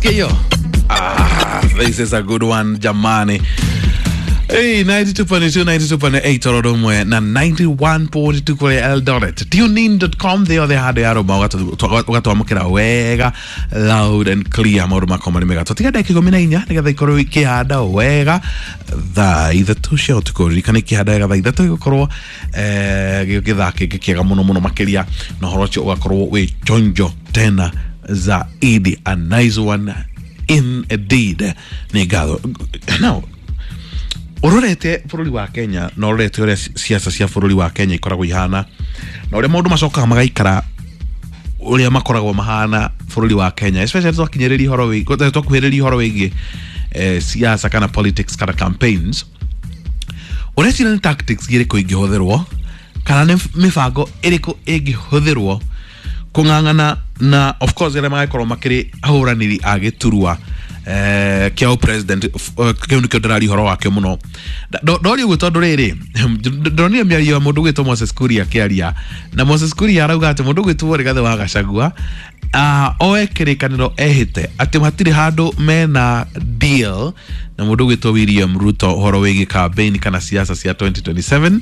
Unasikia hiyo? Ah, this is a good one jamani. Hey, 92.2, 92.8 Orodomwe na 91.2 kule Eldoret. Tunein.com they othe handũ ya rũma ũgatwamũkĩra wega loud and clear maũndũ makwa marĩ mega. Tũtiga ndagĩka 14 nĩgetha ikorwo ikĩhanda wega thaa 3 cia ũtukũ. Ririkana ikĩhanda wega thaa 3 ĩgũkorwo gĩthaa kĩngĩ kĩega mũno mũno makĩria, na ũhoro ũcio ũgakorwo wĩ chonjo tena zaidi. A nice one indeed. Nĩ ngatho. Now, urorete bũrũri wa Kenya na ũrorete ũrĩa siasa cia bũrũri wa Kenya ikoragwo ihana na ũrĩa maũndũ macokaga magaikara ũrĩa makoragwo mahana bũrũri wa Kenya, especially twakinyĩrĩria ũhoro wĩ twakuhĩrĩria ũhoro wĩgiĩ siasa kana politics kana campaigns, ũreciria nĩ tactics irĩkũ ingĩhũthĩrwo kana nĩ mĩbango ĩrĩkũ ĩngĩhũthĩrwo kũng'ang'ana na of course arĩa magakorwo makĩrĩ ahũranĩri a gĩturwa kĩa president kĩu nĩkĩo ndĩraria ũhoro wakĩo mũno. Ndoria ũguo tondũ rĩrĩ ndonire mĩario ya mũndũ ũgwĩtwo Moses Kuria akĩaria, na Moses Kuria arauga atĩ mũndũ ũgwĩtwo Rigathĩ wa Gachagua oe kĩrĩkanĩro ehĩte atĩ hatirĩ handũ mena deal na mũndũ ũgwĩtwo William Ruto ũhoro wĩgiĩ campaign kana siasa cia 2027.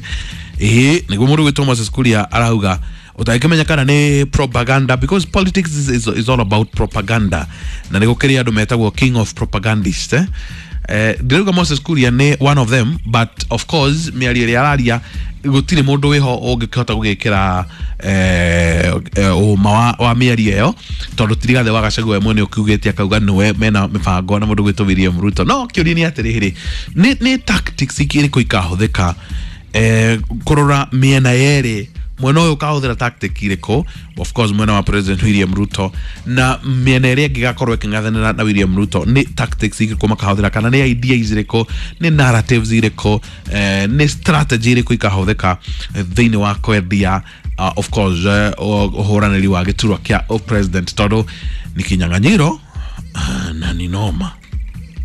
Ĩĩ nĩguo mũndũ ũgwĩtwo Moses Kuria arauga utangĩmenya kana nĩ propaganda, because politics is all about propaganda, na nĩ gũkĩrĩ andũ metagwo king of propagandist, eh? Ndĩrauga Moses Kuria nĩ one of them, but of course mĩario ĩrĩa araria gũtirĩ mũndũ wĩho ũngĩkĩhota gũgĩkĩra ũma wa mĩario ĩyo, tondũ ti Rigathĩ wa Gachagua we mwene ũkiugĩte akauga nĩwe mena mĩbango na mũndũ gwĩtwo William Ruto. No kĩũria nĩ atĩrĩrĩ, nĩ tactics irĩkũ ikahũthĩka kũrora mĩena yerĩ, mwena ũyũ ũkahũthĩra tactic irĩkũ, of course mwena wa President William Ruto, na mĩena ĩrĩa ĩngĩ ĩgakorwo ĩkĩng'ethanĩra na William Ruto nĩ tactics irĩkũ makahũthĩra, kana nĩ ideas irĩkũ, nĩ narratives irĩkũ, nĩ strategy irĩkũ ikahũthĩka thĩinĩ wa kwendia of course ũhũranĩri wa gĩturwa kĩa president, tondũ nĩ kinyang'anyĩro na nĩ noma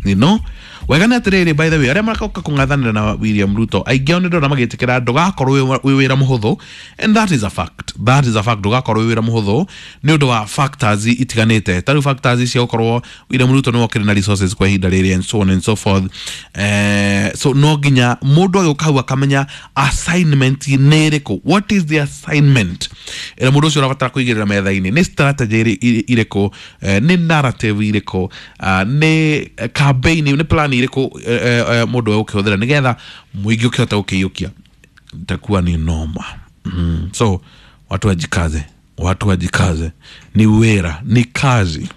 nino wega nĩ atĩrĩrĩ. By the way, arĩa maroka kũng'ethanĩra na William Ruto aingĩ ao nĩ ndona magĩtĩkĩra ndũgakorwo wĩ wĩra mũhũthũ, and that is a fact, that is a fact. Ndũgakorwo wĩ wĩra mũhũthũ nĩ ũndũ wa factors itiganĩte, ta rĩu factors cia gũkorwo William Ruto nĩwe ũkĩrĩ na resources kwa ihinda rĩrĩ and so on and so forth. So no nginya mũndũ agĩũka hau akamenya assignment nĩ ĩrĩkũ, what is the assignment ĩrĩa mũndũ ũcio ũrabatara kũigĩrĩra metha-inĩ, nĩ strategy irĩkũ, nĩ narrative irĩkũ, nĩ campaign, nĩ plan irĩkũ mũndũ egũkĩhũthĩra nĩgetha mũingĩ ũkĩhota gũkĩiyũkia. Itakuwa ni noma. So watu wajikaze, watu wajikaze, ni wera, ni kazi.